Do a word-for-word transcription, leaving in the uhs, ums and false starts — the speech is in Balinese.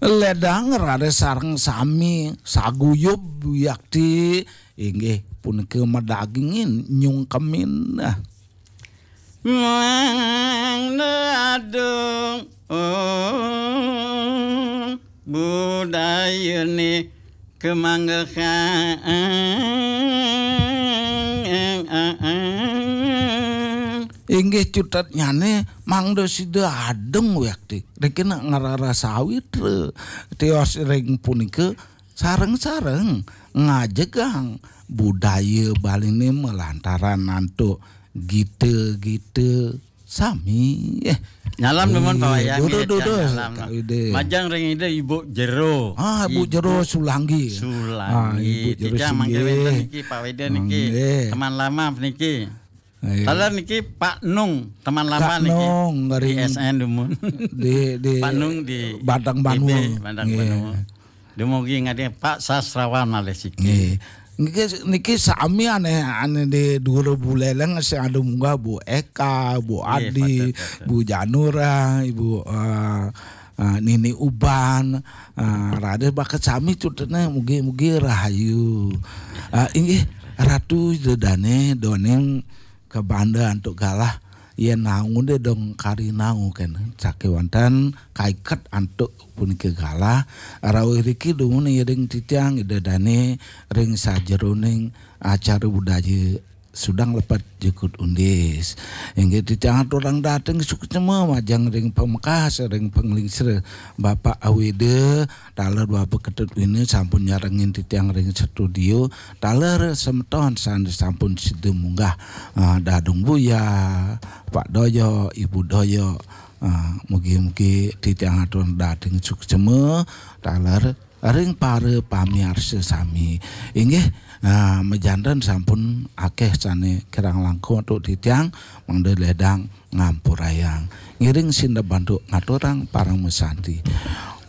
Ledang raris sareng sami saguyub wiakti inggih punika madagingin nyungkemin. Mangda adung, oh, budayane kemanggehan. Inggih cutetnyane mangda sida adung wiakti. Riki nak ngrara sawitra. Tios ring punika sareng-sareng ngajegang budaya Baline malantaran antuk gita-gita sami. Eh. Nyalam dumun Pak Wayang, dudu, nggih, dudu. Nyalam. Kak Wida. Majeng ring Ida Ibu Jero. Ah, Ibu Jero Sulanggi. Sulanggi. Ah, Ibu Jero Titiang mangke Sulanggi. Wenten niki Pak Wida niki. Nggih. Teman lama niki. Iya. Taler niki Pak Nung, teman lama Kak niki. Nung, di ring S N dumun. Di, di Pak Nung di Batang Banua. Batang Banua. Nggih. Dumugi ngadi Pak Sastrawan malih siki. Nggih. Niki, niki sami ane, ane di Dura Buleleng sing ada munggah Bu Eka, Bu Nggih, Adi, Bu Janura, Ibu, eh, eh, Nini Uban, eh, raris bakat sami cutene mugi-mugi rahayu. Eh, inggih Ratu Ida Dane doning kabanda antuk galah yen naunge dong kari naung kene. Sakewanten kaiket antuk punika galah. Rauh riki dumun iring titiang Ida Dane ring sajeroning acara budaya Sudang Lepet Jukut Undis. Inggih titiang aturang dateng suksma majeng ring pamekas ring panglingsir Bapak Awida, taler Bapak Ketut Wina sampun nyarengin titiang ring studio. Taler semeton sane sampun sida munggah, ah, Dadung Buya, Pak Doyok, Ibu Doyok, ah, mugi-mugi titiang atur dating suksema taler ring para pamiarsa sami. Inggih, ah, majanten sampun akeh sane kirang langkung antuk titiang mangda ledang ngampurayang. Ngiring sindep bantuk ngaturang paramasanti.